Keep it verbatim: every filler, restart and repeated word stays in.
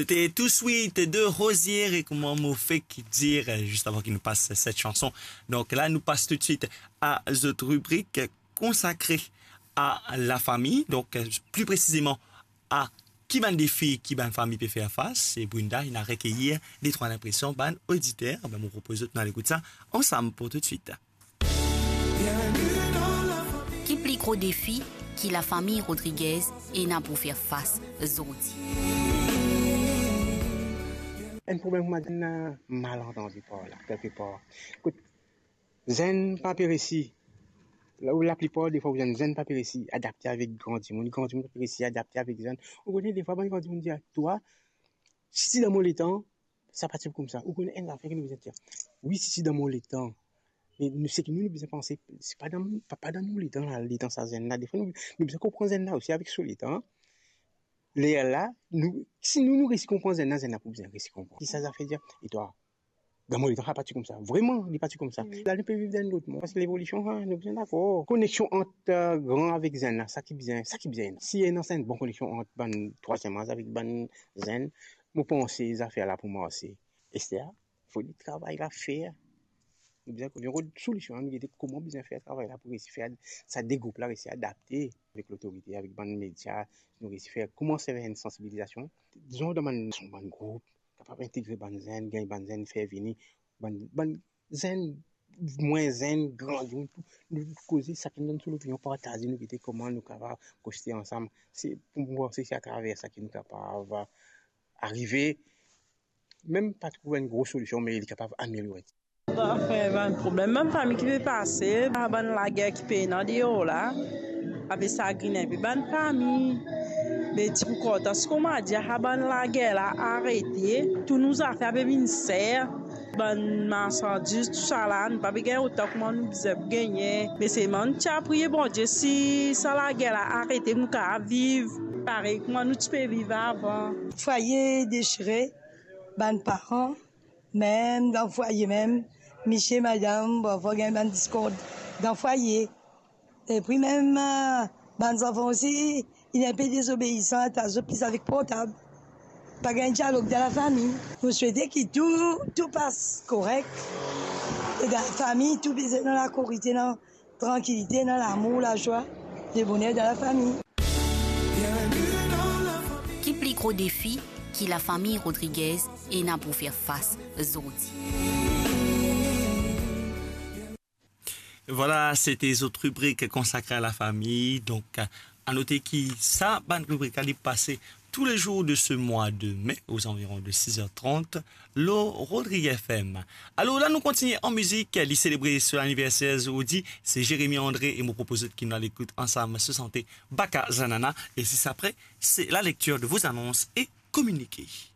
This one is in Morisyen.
C'était Tout Sweet de Rosier et Comment mo fek dir, euh, juste avant qu'il nous passe cette chanson. Donc là, nous passe tout de suite à notre rubrique consacrée à la famille, donc, euh, plus précisément à ki bann defi ki bann fami pe fer fas. E Brenda, inn al rekeyir de trwa linpresion bann oditer. Ben, mo propoz zot nou al ekout sa ansam pou tout de suite. Ki pli gro defi ki lafami Rodriguez ena pou fer fas zordi? Enn problem kouma enn malantandi par la, kelke par. Kot zenn pa pe resi, la, laplipar defwa ou zenn, zenn pa pe resi adapte avek gran dimoun, gran dimoun pa pe resi adapte avek zenn. Ou kone defwa bann gran dimoun dir twa, si ti dan mo letan, sa pa ti pou koumsa. Ou kone enn zafer ki nou bizin dir. Wi, si ti dan mo letan. Me nou, seki nou, nou bizin panse, se pa dan, pa, pa dan nou letan la, letan sa zenn la. Defwa nou, nou bizin konpran zenn la osi avek so letan. Lerla, nou, si nou, nou resi konpran zenn la, zenn la pou bizin resi konpran. Ki sa zafer dir, e twa, dan mo letan, sa pa ti koumsa. Vreman, li pa ti koumsa. La, nou pe viv dan enn lot mond. Paski levolision, ha, nou bizin dakor. Koneksion ant, euh, gran avek zenn la, sa ki bizin, sa ki bizin. Si ena sa enn bon koneksion ant bann trwaziem az avek bann zenn, mo panse zafer la pou marse. Ester, fode travay la fer. Nou bizin, nou rod solision, nou gete kouma bizin fer travay la pou resi fer sa de group la resi adapte avek lotorite, avek bann media, nou resi fer kouma fer enn sansibilizasion. Dizon, dan bann, bann group, kapav integre bann zenn, gagn bann zenn, fer vini bann, bann zenn, mwin zenn, gran, nou, nou koze, sakenn donn so lopinion, partaze, nou gete kouma nou kapav koste ansam. Se, pou mwa, se, se atraver sa ki nou kapav arive, mem pa trouv enn gro solision, me li kapav ameliore. Afe bann problem, bann fami ki pe pase, bann lager ki pena deor la, ape sagrinn inpe bann fami. Me ti pou kontan, si kouma dir, sa bann lager la arete, tou nou zafer pe vinn ser, bann marsandiz, tousala, nou pa pe gagn otan kouma nou bizin pou gagne. Me selman nou ti a priye Bondie, si sa lager la arete, nou kapav viv parey kouma nou ti pe viv avan. Fwaye desire, bann paran, mem dan fwaye mem, misie, madam, parfwa gagn bann diskord dan fwaye. Epi mem, eh, bann zanfan osi, inn inpe dezobeisan, atas zot plis avek portab. Pa gagn dialog dan lafami. Nou swete ki tou, tou pas korek. E dan lafami, tou bizin dan lakorite, dan trankilite, dan lamour, lazwa, leboner dan lafami. Ki pli gro defi ki lafami Rodriguez ena pou fer fas zordi? Voilà, c'était notre rubrique consacrée à la famille. Donc, à noter ki sa bann ribrik la li pase tous les jours de ce mois de mai, aux environs de six heures trente, lor Rodriguez F M. Alor la, nou kontigne an mizik, li selebre so laniverser zordi, se Jérémy André, e mo propoz zot ki nou al ekout ansam so sante Baka Zanana, e zis apre, c'est la lecture de vos annonces et communiqués.